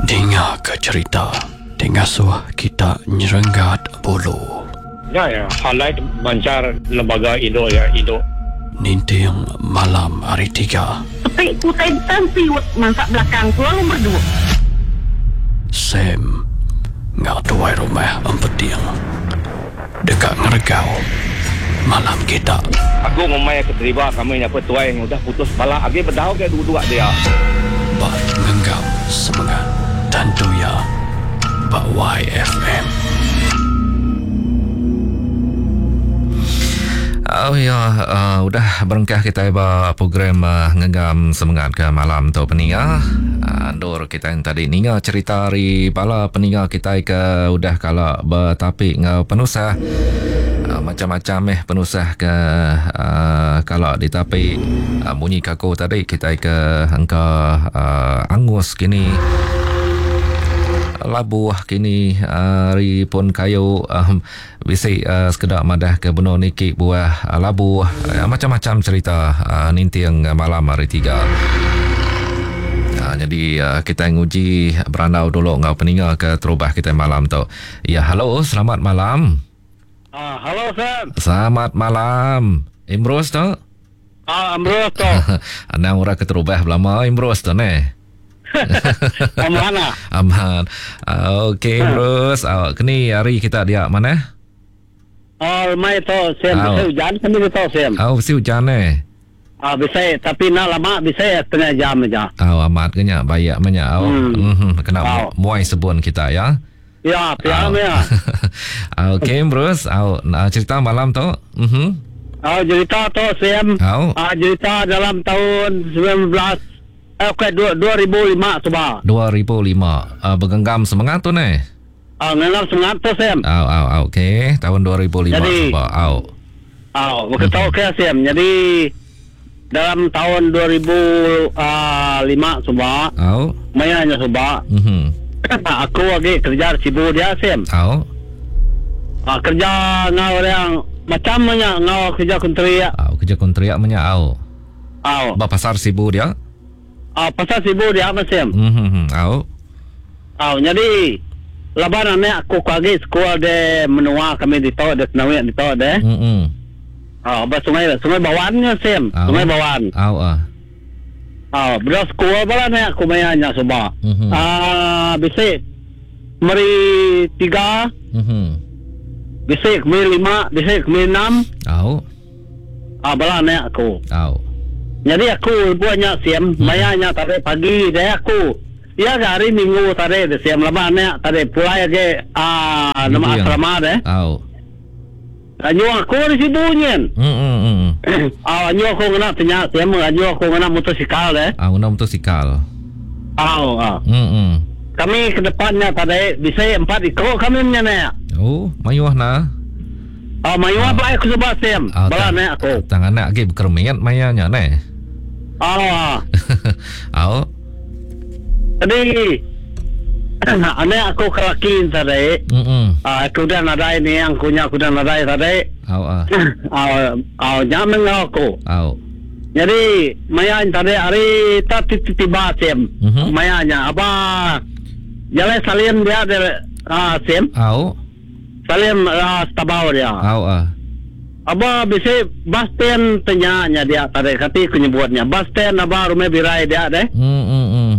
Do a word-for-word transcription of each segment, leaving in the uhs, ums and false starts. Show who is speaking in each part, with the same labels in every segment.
Speaker 1: Dinga ke cherita ti ngasuh kita nyerenggat bulu.
Speaker 2: Nya ya, highlight manchar lembaga indu ya indu.
Speaker 1: Ninting malam hari tiga.
Speaker 3: Sepi ku utai betan siut mansa belakang ku lalu merdu.
Speaker 1: Sam enggau tuai rumah Empeting deka ngeregau malam kita.
Speaker 4: Aku ngumbai ke deriba kami nya pun tuai udah putus pala agi bedau ke duduk dia.
Speaker 1: Ba ngenggam semengat tentu iya ba Y F M.
Speaker 5: Oh ya, uh, udah berengkah kita ba program uh, ngenggam semengat ke malam tu peninga. Uh, andur kita yang tadi ninga cerita ari bala peninga kita ke udah kala bertapi ngau penusah. Uh, macam-macam eh penusah ke uh, kala ditapi. Uh, bunyi kaku tadi kita ke angka uh, angus kini. Labuh kini hari uh, pun kayu um, bisi uh, sekedak madah ke benar niki buah uh, labuh uh, macam-macam cerita uh, ninting malam hari tiga. Uh, jadi uh, kita nguji berandau dulu ngau peninga ke terubah kita malam tu. Ya, halo, selamat malam.
Speaker 6: Ah, halo Sam.
Speaker 5: Selamat malam. Imrus tu?
Speaker 6: Ah, Imrus tu.
Speaker 5: Anang orang ke terubah belama Imrus tu neh.
Speaker 6: Aman lah.
Speaker 5: Aman. Uh, Okey, Bruce. Uh, kini hari kita dia mana?
Speaker 6: Oh, mai tu Sam, bisa hujan kami tu Sam.
Speaker 5: Oh, bisa hujan eh.
Speaker 6: Ah, bisa, tapi nak lama bisa setengah jam aja.
Speaker 5: Oh, amat kenya, baik banyak. Oh, hmm. Mm-hmm. Kena oh. muai sebun kita ya.
Speaker 6: Ya, piam ya.
Speaker 5: Okey, Bruce. Oh, cerita malam tu. Mhm.
Speaker 6: Oh, cerita tu Sam.
Speaker 5: Oh.
Speaker 6: Ah, cerita dalam tahun sembilan belas Okey, dua ribu lima cuba.
Speaker 5: dua ribu lima. Uh, bergenggam semangat tu ni.
Speaker 6: Ah, genggam semangat tu Sam.
Speaker 5: Au au au okey, tahun dua ribu lima cuba. Au.
Speaker 6: Au, begitu okey Sam. Jadi dalam tahun dua ribu lima cuba.
Speaker 5: Au.
Speaker 6: Mayanya cuba.
Speaker 5: Mhm.
Speaker 6: Aku lagi kerja di Sibu dia Sam.
Speaker 5: Au.
Speaker 6: Ah, kerja ngau orang macam mana ngau kerja kontrak.
Speaker 5: Au, kerja kontrak banyak au.
Speaker 6: Au.
Speaker 5: Ba pasar Sibu dia.
Speaker 6: Ah, pasal Sibu dia apa Sam?
Speaker 5: Mhm, au.
Speaker 6: Au, jadi laban anak aku kagi sekolah de menua kami di tahu de Senawi di tahu de.
Speaker 5: Mhm.
Speaker 6: Ah, ba sungai sungai Bawannya Sam, sungai Bawan.
Speaker 5: Au ah.
Speaker 6: Ah, bro sekolah bala anak aku mayanya suba.
Speaker 5: Mm-hmm.
Speaker 6: Ah, bisi meri tiga.
Speaker 5: Mhm.
Speaker 6: Bisi meri lima, bisi meri enam.
Speaker 5: Au.
Speaker 6: Ah, bala anak aku.
Speaker 5: Au.
Speaker 6: Jadi aku buatnya siam, hmm. mayanya tadi pagi deh aku. Ya hari Minggu tadi deh siam lama nek tadi pulai ke ah nama asrama deh.
Speaker 5: Au.
Speaker 6: Anyu aku di situ nyen.
Speaker 5: Hmm hmm hmm.
Speaker 6: Ah anyu aku kena tanya siam, anyu aku kena motosikal deh.
Speaker 5: Ah kena motosikal.
Speaker 6: Au ah.
Speaker 5: Hmm hmm.
Speaker 6: Kami ke depannya tadi bisa empat ikut kami nek.
Speaker 5: Oh, mayuh nah.
Speaker 6: Ah mayuh apa aku sebab siam. Bala nek aku.
Speaker 5: Tangan nak lagi berkermingat mayanya nek.
Speaker 6: Ah.
Speaker 5: Au.
Speaker 6: Jadi anak aku kelaki tadi.
Speaker 5: Mm-mm.
Speaker 6: Ah, aku dah nadai ni yang punya aku dah nadai tadi.
Speaker 5: Au ah.
Speaker 6: Au, au nyaman aku.
Speaker 5: Au.
Speaker 6: Jadi maya tadi hari tak tiba sem.
Speaker 5: Mm-hmm.
Speaker 6: Mayanya apa? Jalan salim dia ada ah sem.
Speaker 5: Au.
Speaker 6: Salim ah tabau dia.
Speaker 5: Au ah.
Speaker 6: Aba bisa bus stand tanya dia tadi kati aku nyebutnya bus stand aba rumah birai dia deh.
Speaker 5: Hmm hmm hmm.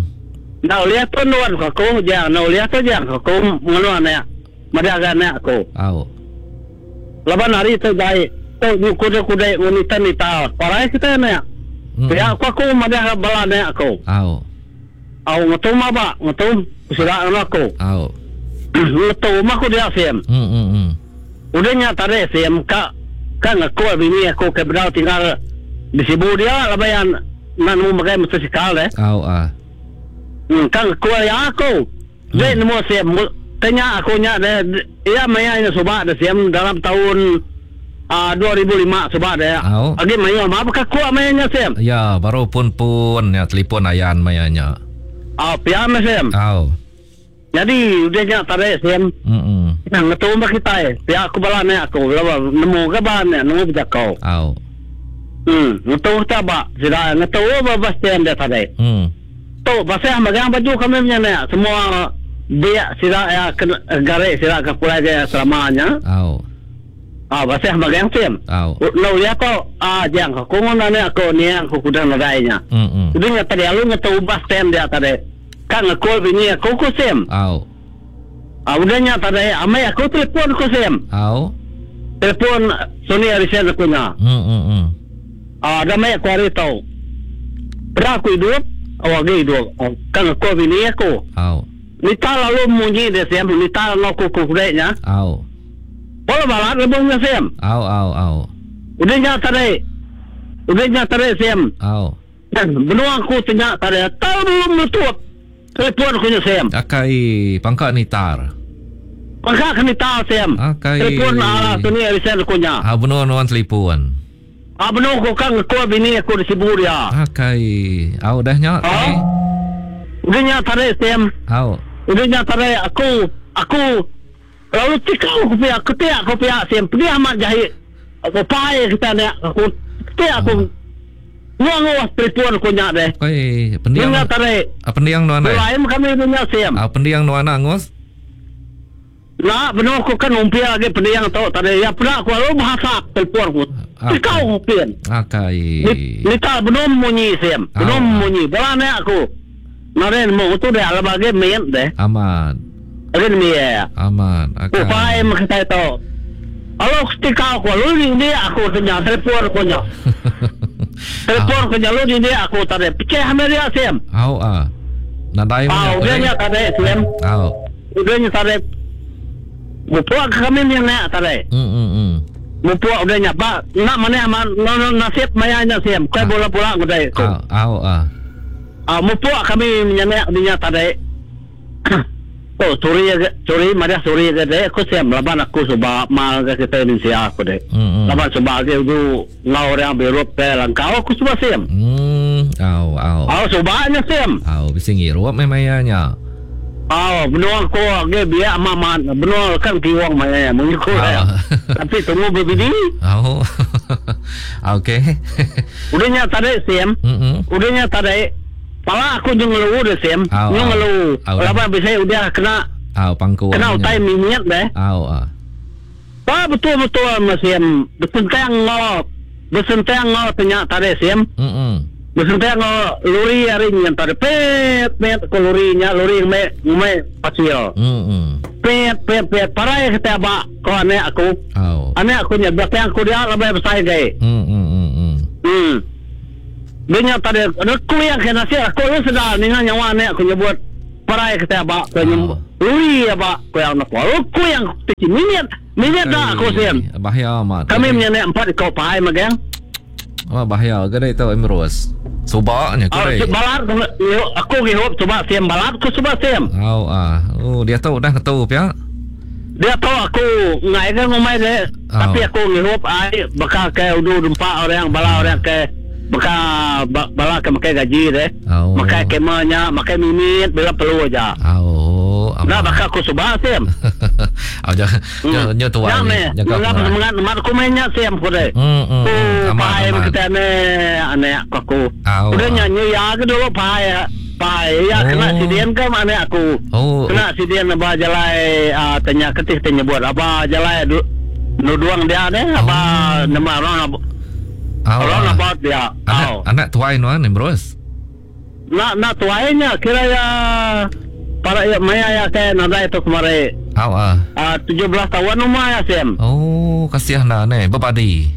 Speaker 6: Nah lihat tu nuan aku jangan, nah lihat tu jangan aku ngeluan ya. Mada anak aku.
Speaker 5: Au.
Speaker 6: Laban hari tu dai tu kuda-kuda wanita nita. Parai kita ne. Ya aku aku mada bala ne aku.
Speaker 5: Au.
Speaker 6: Au ngetum aba ngetum sudah aku.
Speaker 5: Au.
Speaker 6: Ngetum aku dia sem.
Speaker 5: Hmm hmm hmm.
Speaker 6: Udahnya tadi sem ka kan aku bini aku ke bedau tinggal di Sibu dia lah bayan nak nemu pakai motosikal deh.
Speaker 5: Au ah.
Speaker 6: Hmm, kan aku ya aku. Dia nemu siam tanya aku nya deh ya maya nya subak deh siam dalam tahun ah dua ribu lima subak deh.
Speaker 5: Au.
Speaker 6: Agi maya apa aku maya nya siam.
Speaker 5: Ya, baru pun pun ya telefon ayan maya nya.
Speaker 6: Ah, piam siam.
Speaker 5: Au.
Speaker 6: Jadi udah nya tadi siam.
Speaker 5: Hmm.
Speaker 6: Nang ngetu mah kita eh. Pihak aku bala ne aku lawa nemu ke ban ne nemu jakau.
Speaker 5: Au.
Speaker 6: Hmm, ngetu ta ba. Sida ngetu ba bas stand dia tadi.
Speaker 5: Hmm.
Speaker 6: Tu tu basah magang baju kami punya semua biak sila ya garik sila ke pulai dia selamanya.
Speaker 5: Au.
Speaker 6: Ah basah magang sim.
Speaker 5: Au.
Speaker 6: Lo ya ko ah jang ko ngono ne aku ni aku kuda nadainya.
Speaker 5: Hmm.
Speaker 6: Udah nya tadi alu ngetu ubah stand dia tadi. Kan ngekul bini aku ku sim.
Speaker 5: Au.
Speaker 6: Ah udah nya tadi amai aku telefon ku sim.
Speaker 5: Au.
Speaker 6: Telefon Sony Ericsson aku nya.
Speaker 5: Hmm hmm hmm.
Speaker 6: Ah dah mai aku hari tau. Pernah aku hidup, awak lagi hidup. Kan ngekul bini aku.
Speaker 5: Au.
Speaker 6: Nita lalu munyi dia siam, nita lalu aku kudeknya.
Speaker 5: Au.
Speaker 6: Bola balat lebungnya siam.
Speaker 5: Au au au.
Speaker 6: Udah nya tadi. Udah nya tadi siam.
Speaker 5: Au.
Speaker 6: Benua aku tanya tadi, tahu belum nutup. Telefon aku nya siam.
Speaker 5: Akai pangkat nitar.
Speaker 6: Pangkat nitar siam.
Speaker 5: Akai.
Speaker 6: Telefon ala sini Ericsson aku nya.
Speaker 5: Ah benua nuan telefon.
Speaker 6: Ah benua aku kan ngekul bini aku di Sibu dia.
Speaker 5: Akai. Au dah nya.
Speaker 6: Au. Udah nya tadi siam.
Speaker 5: Au.
Speaker 6: Udah nya tadi aku aku lalu tikau aku pihak ketiak aku pihak siam pergi amat jahit aku pai kita ni aku ketiak aku nguang nguang telefon aku nya deh.
Speaker 5: Oi pendiang
Speaker 6: nya tadi
Speaker 5: ah pendiang nuan deh.
Speaker 6: Lain kami punya siam.
Speaker 5: Ah pendiang nuan angus.
Speaker 6: Nah benar aku kan umpia lagi pendiang tau tadi ya pernah aku lalu bahasa telefon aku tikau aku pian.
Speaker 5: Akai.
Speaker 6: Nita belum bunyi siam belum bunyi bola ni aku. Naren mo tu dia ala bagi main deh.
Speaker 5: Aman.
Speaker 6: Lagi ni ya.
Speaker 5: Aman.
Speaker 6: Akai. Upai kita tu. Kalau ketika aku lu ni aku tanya telefon aku nya. Telefon aku nya lu ni aku tadi. Pecah dia siam.
Speaker 5: Au ah. Nadai
Speaker 6: mana. Au dia nya tadi siam.
Speaker 5: Au.
Speaker 6: Dia nya tadi. Mupuak kami ni nak tadi.
Speaker 5: Hmm hmm hmm.
Speaker 6: Mupuak dia nya pak nak mana aman nasib maya nya siam. Kau bola bola aku dai.
Speaker 5: Au au ah.
Speaker 6: Ah, mupuak kami menyenek dinya tadi. Oh, suri suri mari suri ke deh. Aku siam laban aku sebab mal ke kita Indonesia aku deh.
Speaker 5: Mm-hmm.
Speaker 6: Laban sebab ke itu ngau orang Beirut ke Langkau aku sebab siam.
Speaker 5: Hmm, au au.
Speaker 6: Au sebabnya siam.
Speaker 5: Au bisa ngirup memangnya.
Speaker 6: Au, benua aku ke biar maman, benua kan kiwang maya mengikut ya. Tapi tunggu berbidi.
Speaker 5: Au. Okey.
Speaker 6: Udahnya tadi siam.
Speaker 5: Mm-hmm.
Speaker 6: Udahnya tadi. Pala aku jeng ngeluh deh siam, jeng ngeluh. Lama bisa udah kena,
Speaker 5: au pangku,
Speaker 6: kena utai minyak deh.
Speaker 5: Au ah.
Speaker 6: Pak betul betul mas siam, bersentang ngol, bersentang ngol tanya tadi siam.
Speaker 5: Mm.
Speaker 6: Bersentang ngol luri hari ni yang tadi pet pet ke lurinya luri me me pasir.
Speaker 5: Mm.
Speaker 6: Pet pet pet parai kita bak kau aneh aku.
Speaker 5: Au.
Speaker 6: Aneh aku nya belakang aku dia lebih besar gay.
Speaker 5: Mm mm mm.
Speaker 6: Hmm. Dia tadi ada kuliah ke nasi aku lu sedar dengan nyawa ni aku nyebut parai kita ba aku nyebut lui ba aku yang nak aku yang kecil minit minit dah aku siam
Speaker 5: bahaya amat
Speaker 6: kami menyenek empat kau pai magang
Speaker 5: wah bahaya ke itu Emrus subaknya ke
Speaker 6: balat aku gihup cuba siam balat aku cuba siam
Speaker 5: oh ah oh dia tahu dah ketu pia
Speaker 6: dia tahu aku ngai ke ngomai dia tapi aku ngihup ai bakal ke udu empat orang bala orang ke baka bala ke makai gaji deh.
Speaker 5: Oh.
Speaker 6: Makai kemanya, makai mimit bila perlu aja.
Speaker 5: Oh,
Speaker 6: nah baka aku subah siam.
Speaker 5: Oh, jangan jangan tua.
Speaker 6: Jangan jangan semangat mat aku mainnya siam ku deh.
Speaker 5: Hmm,
Speaker 6: hmm. Pai kita ne ane aku. Udah nyanyi ya ke dulu pai. Pai ya kena sidian ke mana aku.
Speaker 5: Oh.
Speaker 6: Kena sidian apa jalai tanya ketih tanya buat apa jalai nuduang dia deh apa nama orang orang about dia.
Speaker 5: Anak, anak tuai nuan Emrus.
Speaker 6: Nak nak tuainya kira ya para ya maya ya ke nadai tu kemarin.
Speaker 5: Aw ah.
Speaker 6: Ah tujuh belas tahun rumah ya Sam.
Speaker 5: Oh, kasihan dah ne berbadi.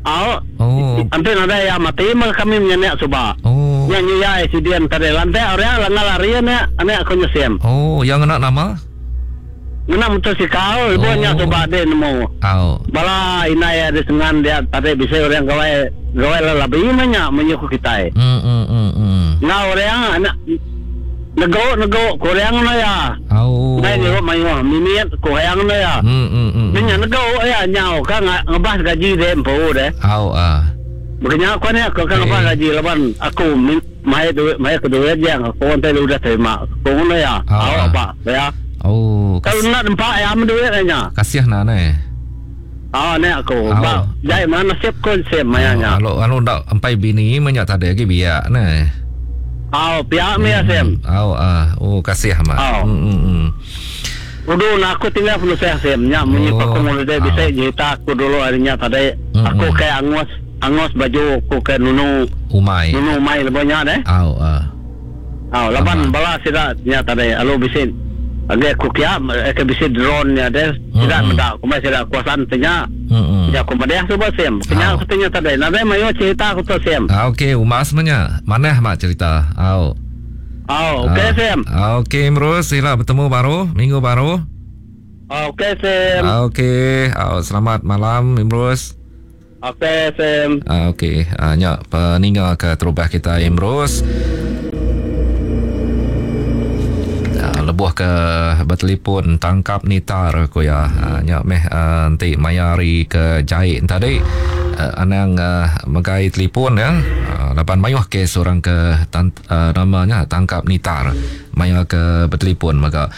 Speaker 6: Aw.
Speaker 5: Oh.
Speaker 6: Ante nadai ya mati mah kami menyenek suba.
Speaker 5: Oh.
Speaker 6: Nyanyi ya sidian tadi lantai orang langgar lari ne anak aku nyesem.
Speaker 5: Oh, yang anak nama?
Speaker 6: Ngena motosikal, ibu nya coba deh nemu.
Speaker 5: Au.
Speaker 6: Bala inai ada sengan dia tadi bisa orang gawai gawai lebih banyak menyuku kita.
Speaker 5: Hmm hmm hmm. hmm.
Speaker 6: Nah orang anak nego nego korang na ya.
Speaker 5: Au.
Speaker 6: Nai ni mayu mimiat korang na ya.
Speaker 5: Hmm hmm hmm.
Speaker 6: Nya nego ya nyau kan ngebas gaji deh empu deh.
Speaker 5: Au ah.
Speaker 6: Makanya aku ni aku kan ngebas gaji laban aku mai duit mai ke duit yang aku nanti udah terima. Kau na ya. Au apa ya.
Speaker 5: Oh,
Speaker 6: kalau nak empat ya am duit nya.
Speaker 5: Kasihan nak ne.
Speaker 6: Ah ne aku. Ba, jai mana nasib ko sem mayanya.
Speaker 5: Kalau kalau ndak empai bini banyak tak ada lagi biak ne.
Speaker 6: Au pia mi Sim.
Speaker 5: Au ah oh kasih amat. Hmm hmm.
Speaker 6: Udu nak aku tinggal penusah Sim nya munyi
Speaker 5: Oh.
Speaker 6: aku mulai bisa cerita aku dulu harinya tadi
Speaker 5: Mm-mm.
Speaker 6: aku ke angus angus baju aku ke nunu
Speaker 5: Umai.
Speaker 6: nunu umai lebihnya deh.
Speaker 5: Au ah.
Speaker 6: Au laban bala sida nya tadi alu bisi agi aku kia ke bisi drone nya deh sida
Speaker 5: Mm-mm.
Speaker 6: meda aku mai sida kuasaan tanya.
Speaker 5: Hmm.
Speaker 6: Ya aku madeh tu Sim. Kenya
Speaker 5: Au.
Speaker 6: aku tanya tadi nadai mayo cerita aku tu Sim.
Speaker 5: Ah, okey, umas sebenarnya. Manah mak cerita. Au.
Speaker 6: Au okey Sim.
Speaker 5: Ah, okey, Imrus, sila bertemu baru minggu baru.
Speaker 6: Okey Sim.
Speaker 5: Ah, okey. Ah, selamat malam Imrus.
Speaker 6: Okey Sim.
Speaker 5: Ah, okey. Ah, nya peninggal ke terubah kita Imrus. Ah, lebuh ke bertelefon tangkap nitar aku ya. Ah, nya meh ah, nanti maya hari ke jahit tadi uh, anang uh, megai telefon ya. Uh, lapan mayuh kes orang ke tan, uh, namanya tangkap nitar maya ke bertelefon maka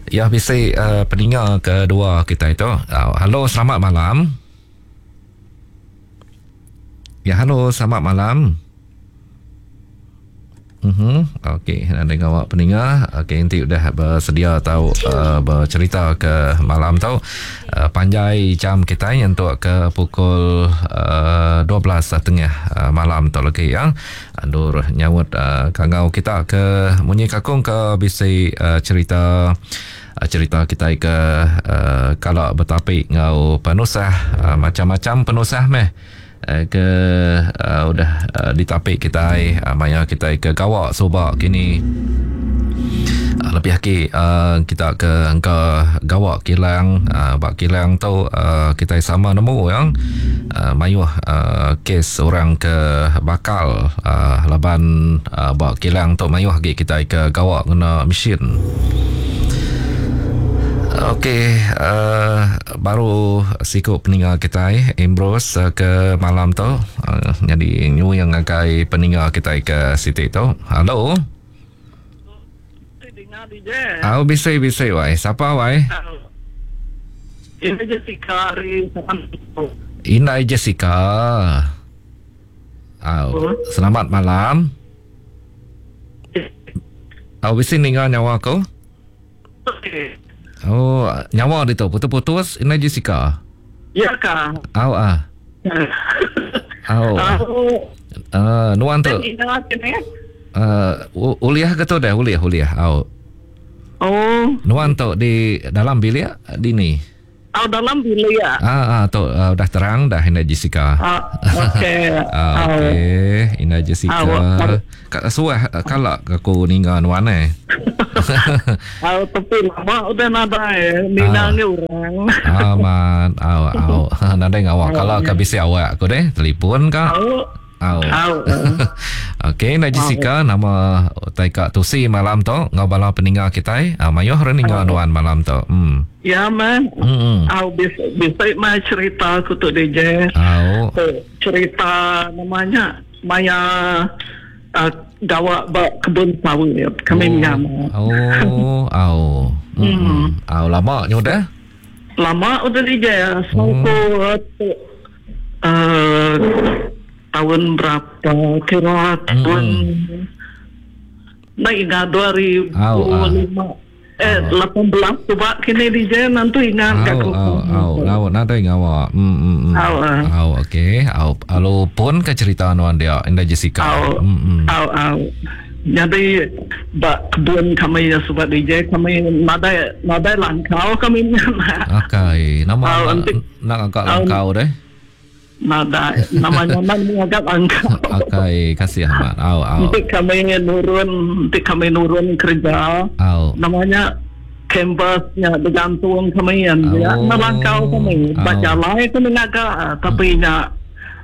Speaker 5: ya bisi uh, peninga kedua kita itu. Uh, halo selamat malam. Ya halo selamat malam. Mhm. Okey, nak dengar awak peninga. Okey, nanti udah bersedia tahu uh, bercerita ke malam tu. Uh, panjai jam kita untuk ke pukul uh, dua belas tiga puluh uh, malam tu lagi ya. Andur nyaut uh, kangau kita ke munyi kakung ke bisi uh, cerita uh, cerita kita ke uh, kalau bertapik ngau penusah uh, macam-macam penusah meh ke uh, udah uh, ditapik kita uh, maya kita ke gawak subak kini uh, lebih lagi uh, kita ke angka gawak kilang uh, bak kilang tu uh, kita sama nemu yang uh, mayuh uh, kes orang ke bakal uh, laban uh, bak kilang tu mayuh lagi kita ke gawak kena mesin. Okey, uh, baru sikut peninga kita eh, Ambrose uh, ke malam tu. Uh, jadi nyu yang ngagai peninga kita ke situ tu. Halo.
Speaker 3: Dengar D J.
Speaker 5: Au bisai bisai wai. Siapa wai?
Speaker 3: Ini Jessica hari
Speaker 5: Inai Jessica. Au, selamat malam. Au bisai ninga nyawa aku? Oh, nyawa dia tu putus-putus Inai Jessica.
Speaker 3: Ya kah?
Speaker 5: Au ah. Au. Ah, nuan tu. Uh, uliah ke tu dah? Uliah, uliah. Au.
Speaker 3: Oh.
Speaker 5: Nuan tu di dalam bilik di ni.
Speaker 3: Oh, dalam bilik ya.
Speaker 5: Ah, ah tu uh, dah terang dah Ina Jessica.
Speaker 3: Ah, okey.
Speaker 5: Ah, okey, Ina Jessica.
Speaker 3: Ah,
Speaker 5: Kak suah kalak aku ninga nuan eh.
Speaker 3: Ah, tapi lama udah nadai ninga ni orang.
Speaker 5: Aman, au au. Nadai ngawak kalau ke bisi awak aku deh, telefon ka.
Speaker 3: Au.
Speaker 5: Au.
Speaker 3: Au.
Speaker 5: Okey, Ina Jessica nama tai kak tusi malam tu ngau bala peninga kita. Ah, mayuh re ninga nuan malam tu. Hmm.
Speaker 3: Ya man.
Speaker 5: Hmm.
Speaker 3: Au bisa bisa mai cerita aku tu D J.
Speaker 5: Au.
Speaker 3: Cerita namanya Maya uh, gawak bak kebun sawit kami nyam.
Speaker 5: Oh, au. Hmm. Au lama nyu dah.
Speaker 3: Lama udah D J. Sangko uh, tahun berapa kira tahun nak ingat dua ribu lima eh lapan belas coba kini D J nanti ingat
Speaker 5: au au au au nanti ngawak hmm hmm
Speaker 3: au
Speaker 5: au okey au alo pun ke cerita anuan dia Indah Jessica
Speaker 3: au au au jadi bak kebun kami ya sebab D J kami nadai nadai langkau kami
Speaker 5: okey nama nak agak langkau deh
Speaker 3: Nada, namanya nak agak angkau.
Speaker 5: Okey, kasih Ahmad. Au au.
Speaker 3: Nanti kami nurun, nanti kami nurun kerja.
Speaker 5: Au.
Speaker 3: Namanya kampusnya bergantung kami yang dia melangkau kami. Baca lai kami agak, tapi nya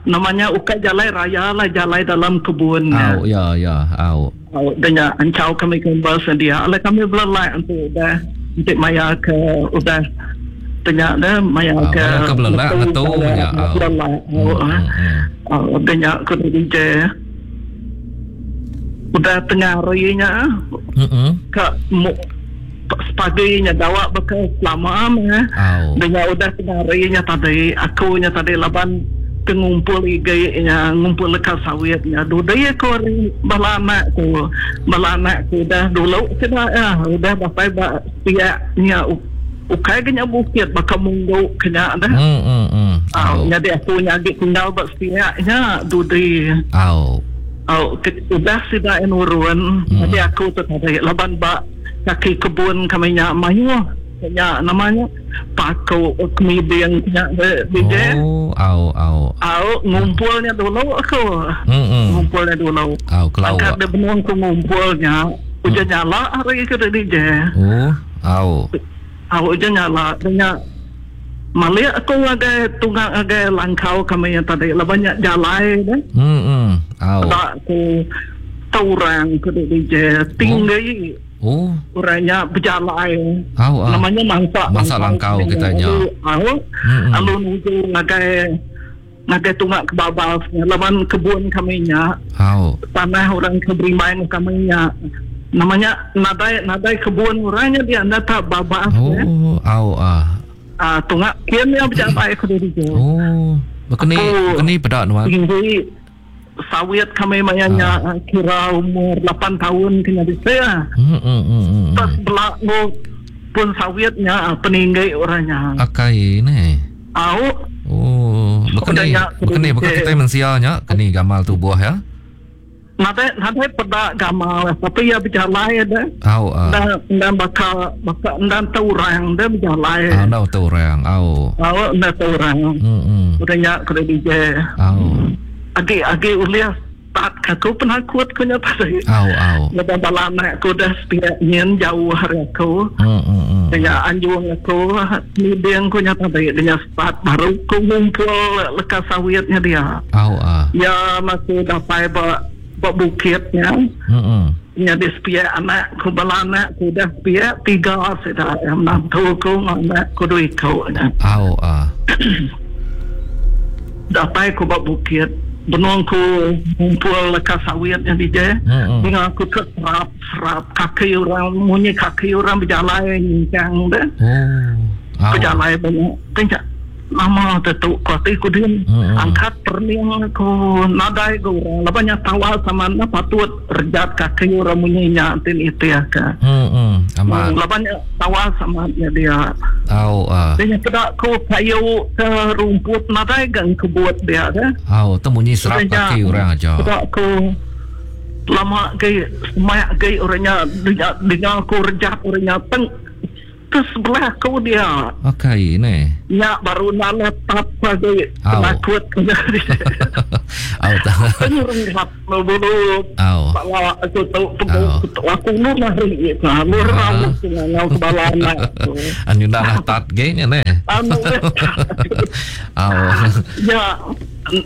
Speaker 3: namanya ukat jalai raya lah, jalai dalam kebun.
Speaker 5: Au, ya ya, au.
Speaker 3: Au, dan ya ancau kami kampus dia. Oleh kami belai untuk udah untuk maya ke udah tanya dah maya
Speaker 5: Ah,
Speaker 3: ke
Speaker 5: maya ke belelak ngetu nya.
Speaker 3: Belelak. Oh, tanya ke D J. Udah tengah harinya.
Speaker 5: Heeh.
Speaker 3: Ke paginya jawab bekas lama mah.
Speaker 5: Au.
Speaker 3: Dengan udah tengah harinya tadi, akunya tadi laban Ke ngumpul iga ngumpul leka sawitnya. Dudai aku hari bala anak ku, bala anak ku dah dulu sida ya, udah dapai ba piaknya ukai kena bukit baka munggu kena dah.
Speaker 5: Hmm hmm hmm.
Speaker 3: Au, jadi aku nyagi tinggal ba piaknya dudai.
Speaker 5: Au.
Speaker 3: Au, udah sida nurun, hmm. Jadi aku tu tadi laban ba kaki kebun kami nya mayuh nya namanya paku kemiding nya D J.
Speaker 5: Oh, au au.
Speaker 3: Au ngumpulnya dulu aku.
Speaker 5: Hmm.
Speaker 3: Ngumpulnya dulu.
Speaker 5: Au kelau.
Speaker 3: Angkat dia benung ku ngumpulnya. Ujan nyala hari ke D J.
Speaker 5: Oh, au.
Speaker 3: Au ujan nyala nya malik aku ngagai tunggang ngagai langkau kami yang tadi lah banyak jalai dah.
Speaker 5: Hmm. Au.
Speaker 3: Tak aku taurang ke D J tinggi.
Speaker 5: Oh.
Speaker 3: Orangnya berjalai.
Speaker 5: Au, ah.
Speaker 3: Namanya mangsa
Speaker 5: mangsa langkau kitanya.
Speaker 3: Au. Lalu nuju ngagai ngagai tunggak ke babas lawan kebun kami nya.
Speaker 5: Au.
Speaker 3: Tanah orang ke berimain kami nya. Namanya nadai nadai kebun orangnya dia anda tak babas.
Speaker 5: Oh, ya. Au ah.
Speaker 3: Ah tunggak kian yang berjalai ke diri.
Speaker 5: Oh. Bekeni bekeni pedak nuan.
Speaker 3: Tinggi sawit kami mayanya ah. Kira umur lapan tahun kena bisa.
Speaker 5: Hmm hmm hmm.
Speaker 3: Tas belak pun sawitnya peninggi orangnya.
Speaker 5: Akai ni.
Speaker 3: Au.
Speaker 5: Oh, bekeni bekeni bukan kita manusia nya keni gamal tubuh ya.
Speaker 3: Nadai nadai pedak gamal tapi ya berjalai dah.
Speaker 5: Au ah.
Speaker 3: Dan dan bakal bakal dan taurang dah berjalai.
Speaker 5: Ah, dah taurang. Au.
Speaker 3: Au dah taurang.
Speaker 5: Hmm hmm.
Speaker 3: Orangnya kena D J.
Speaker 5: Au.
Speaker 3: Agi-agi uliah tak aku penakut kunya tadi.
Speaker 5: Au au.
Speaker 3: Lepas bala anak aku dah sepiak nyen jauh hari aku.
Speaker 5: Hmm hmm hmm.
Speaker 3: Dengan anjung aku nideng kunya tadi dengan start baru ku ngumpul leka sawitnya dia.
Speaker 5: Au ah.
Speaker 3: Ya masih dapai ba ba bukitnya.
Speaker 5: Hmm hmm.
Speaker 3: Nya di sepiak anak ku bala anak ku dah sepiak tiga sudah menantu ku anak ku dua ikut.
Speaker 5: Au ah.
Speaker 3: Dapai ku ba bukit. Benung ku ngumpul leka sawit yang D J. Dengan aku terserap serap kaki orang munyi kaki orang berjalan nyincang dah.
Speaker 5: Oh.
Speaker 3: Berjalan banyak. Tengok lama tetuk kuati ku din. Angkat perniang aku nadai ku orang. Labanya tawal sama na patut rejat kaki orang munyi nya tin itu ya ka.
Speaker 5: Hmm. Aman.
Speaker 3: Labanya tawal sama dia.
Speaker 5: Au ah.
Speaker 3: Dia kedak ku kayu ke rumput nadai gang kebut dia dah.
Speaker 5: Au tu munyi serap kaki orang aja.
Speaker 3: Kedak ku lama ke semak ke orangnya dengar aku rejat orangnya teng ke sebelah aku dia.
Speaker 5: Okey ni.
Speaker 3: Ya baru nala tap lagi takut
Speaker 5: Au tak.
Speaker 3: Penyerang bulu.
Speaker 5: Au.
Speaker 3: Bala aku tu aku nu lari nah lu ramu ngau ke bala anak.
Speaker 5: Anu dah tat ge nya ne.
Speaker 3: Anu.
Speaker 5: Au.
Speaker 3: Ya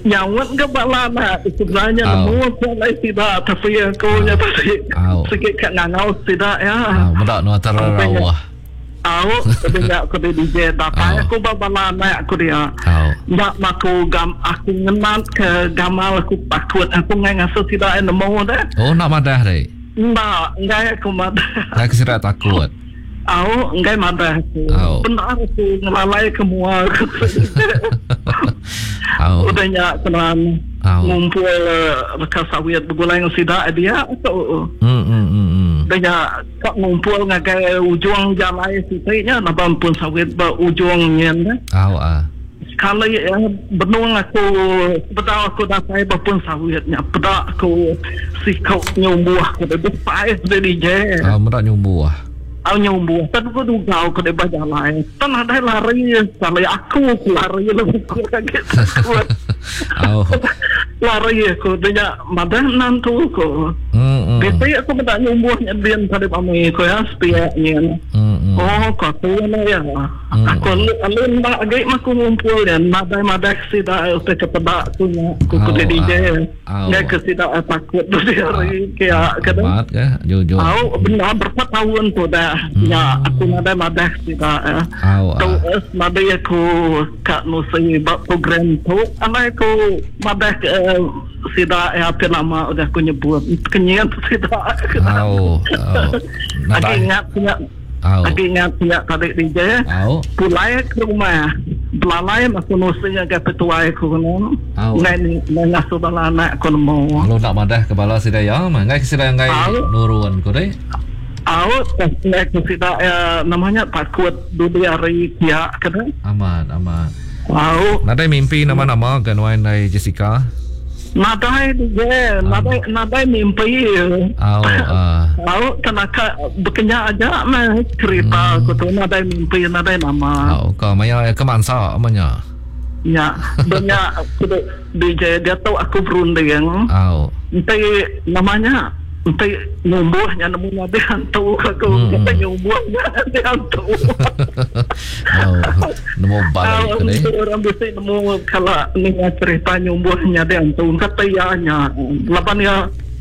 Speaker 3: nyawat ke bala anak sebenarnya nemu aku lai tidak tapi aku nya tadi sikit kat ngau tidak ya.
Speaker 5: Au medak nu terawah.
Speaker 3: Au, tapi nak aku D J dapat aku bala anak aku dia. Nak aku gam aku ngenat ke gamal aku takut aku ngai ngasuh tidak nemu dah.
Speaker 5: Oh nak madah deh.
Speaker 3: Enggak, enggak aku madah.
Speaker 5: Nak kira takut.
Speaker 3: Au, enggak madah aku. Benar aku ngelalai ke mua aku.
Speaker 5: Au.
Speaker 3: Udah nyak kenan ngumpul bekas sawit bergulai dengan sidak dia tu.
Speaker 5: Hmm hmm hmm.
Speaker 3: Dia kak ngumpul ngagai ujung jalai sitiknya nabam pun sawit ba ujungnya dah.
Speaker 5: Au ah.
Speaker 3: Sekali ya benung aku bedau aku datai ba pun sawitnya pedak aku sikau nyumbuh aku dah besar dari je.
Speaker 5: Ah medak nyumbuh.
Speaker 3: Au nyumbuh tan aku dugau aku dah berjalan. Tan ada lari sekali aku lari lebih kurang gitu.
Speaker 5: Au.
Speaker 3: Lari aku dia madah nantu aku.
Speaker 5: Hmm.
Speaker 3: Biasanya aku minta nyumbuhnya dia tadi pamai aku ya sepiaknya.
Speaker 5: Hmm.
Speaker 3: Oh, kau tu ya. Aku alun tak agak aku ngumpul dan madai madai sida utai kepedak aku nya. Aku ke D J. Enggak ke sida takut tu dia hari kayak kata.
Speaker 5: Amat ke jujur.
Speaker 3: Au benar berapa tahun tu dah. Ya aku madai madai sida.
Speaker 5: Au.
Speaker 3: Tu madai aku kat nusi bab program tu. Alai aku madai sida ya apa lama udah aku nyebut kenyat sida.
Speaker 5: Au.
Speaker 3: Aku ingat punya. Aku ingat punya tadi D J.
Speaker 5: Au.
Speaker 3: Pulai ke rumah. Belalai aku nusinya ke petuai aku no.
Speaker 5: Au.
Speaker 3: Ngai ngai ngasuh bala anak aku nemu.
Speaker 5: Lalu nak madah ke bala sida ya, mah ngai ke sida ngai nurun ku deh.
Speaker 3: Au, ngai ke sida ya, namanya takut dudi hari kia kena.
Speaker 5: Amat, amat.
Speaker 3: Au.
Speaker 5: Nadai mimpi nama-nama ke nuan nai Jessica?
Speaker 3: Nadai dia, nadai nadai mimpi.
Speaker 5: Au, ah.
Speaker 3: Au, kenaka bekenya aja mah cerita aku tu nadai mimpi, nadai nama.
Speaker 5: Au, ka maya ke mansa amanya.
Speaker 3: Ya, banyak aku D J dia tahu aku berunding.
Speaker 5: Au.
Speaker 3: Enti namanya enti nyumbuhnya nemu nabi hantu aku
Speaker 5: Hmm.
Speaker 3: kata nyumbuhnya nabi hantu.
Speaker 5: Au, nemu balik
Speaker 3: Au,
Speaker 5: ke deh.
Speaker 3: orang bisa nemu kalau ni cerita nyumbuhnya nabi hantu kata ya nya. Lapan ya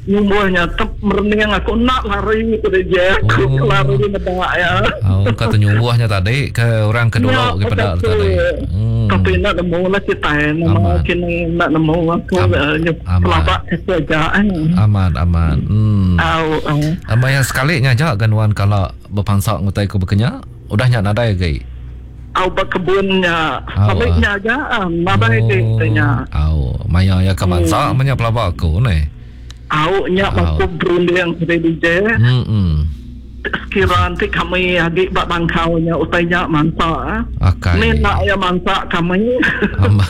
Speaker 3: nyumbuhnya tep merening aku nak lari ke dia aku
Speaker 5: Oh.
Speaker 3: lari medak ya.
Speaker 5: Au, kata nyumbuhnya tadi ke orang kedua
Speaker 3: Ya,
Speaker 5: ke pada
Speaker 3: betul.
Speaker 5: tadi. Hmm.
Speaker 3: Tapi nak nemu lah kita nama
Speaker 5: Aman.
Speaker 3: kini nak nemu aku
Speaker 5: Am-
Speaker 3: eh,
Speaker 5: aman.
Speaker 3: pelabak kesejaan.
Speaker 5: Aman, aman. Hmm.
Speaker 3: Au, au.
Speaker 5: Amai yang sekali nya aja kan wan kalau berpansak ngutai ku bekenya, udah nya nadai gai.
Speaker 3: Au berkebunnya,
Speaker 5: Au,
Speaker 3: saliknya aja, nadai
Speaker 5: Oh.
Speaker 3: kitanya.
Speaker 5: Au, maya ya ke mansa hmm. manya pelabak aku ni.
Speaker 3: Au nya
Speaker 5: Au.
Speaker 3: aku berunding ke D J.
Speaker 5: Hmm. hmm.
Speaker 3: Sekira nanti kami agi bak bangkaunya utainya mansa.
Speaker 5: Akai.
Speaker 3: Ni nak ya mansa kami.
Speaker 5: Am.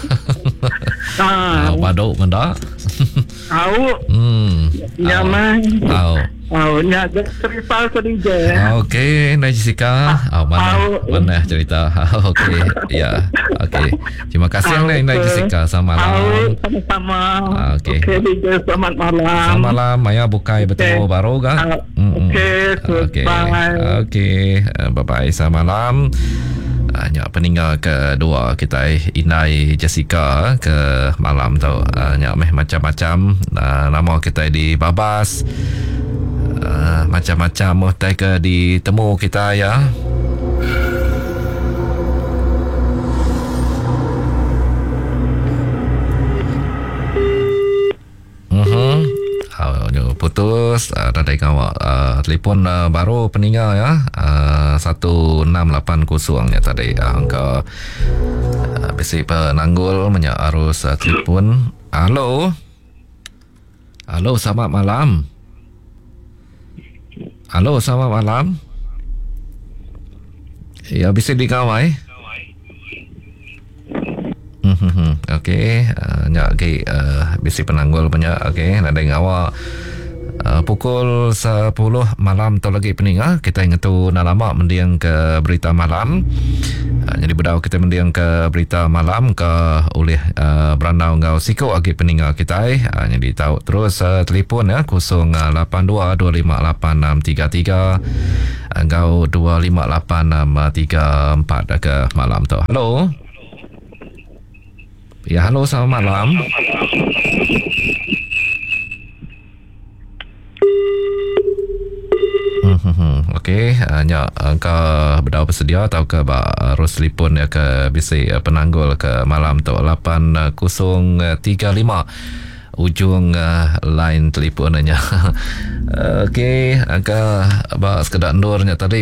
Speaker 3: Ah,
Speaker 5: Au baduk mendak.
Speaker 3: au
Speaker 5: Hmm.
Speaker 3: nya mah.
Speaker 5: Au.
Speaker 3: Au nya ada cerita ke D J.
Speaker 5: Okey, Nai Jessica. Au mana
Speaker 3: Au.
Speaker 5: mana cerita. Okey, ya. Okey. Terima kasih
Speaker 3: Au,
Speaker 5: Nai Nai
Speaker 3: okey.
Speaker 5: Jessica. Selamat
Speaker 3: Au
Speaker 5: malam.
Speaker 3: sama-sama.
Speaker 5: Ah, okey.
Speaker 3: Okey D J selamat malam.
Speaker 5: Selamat malam. Maya bukai bertemu
Speaker 3: Okey.
Speaker 5: baru kan?
Speaker 3: Ah, okey,
Speaker 5: Okey.
Speaker 3: goodbye.
Speaker 5: Okey, Eh, bye-bye. Selamat malam. Ah, nyak peninggal kedua kita Inai Jessica ke malam tu. Ah, nyak meh macam-macam ah, nama kita di Babas. Ah, macam-macam utai ke ditemu kita ya. Mhm. Ah, nyo putus uh, tadi kawak uh, telefon uh, baru peninggal ya. Uh, satu enam lapan kosong ya tadi uh, angka uh, bisi penanggul menyak arus uh, telefon. Halo. Halo, selamat malam. Halo, selamat malam. Ya, bisa dikawai. Hmm, okey, uh, nyak lagi uh, bisi penanggul banyak. Okey, nadai ngawak. Uh, pukul sepuluh malam tu lagi peninga kita ingat tu nak lama mendiang ke berita malam. Uh, jadi bedau kita mendiang ke berita malam ke oleh uh, berandau ngau siko lagi peninga kita. Uh, jadi tahu terus uh, telefon ya kosong lapan dua dua lima lapan enam tiga tiga ngau dua lima lapan enam tiga empat ke malam tu. Halo. Ya, halo, selamat malam. Hmm, okey, uh, nya ke bedau bersedia atau ke ba arus telefon ya ke bisi penanggul ke malam tu lapan kosong tiga lima ujung uh, line telefonnya. Okey, ke ba sekedar ndurnya tadi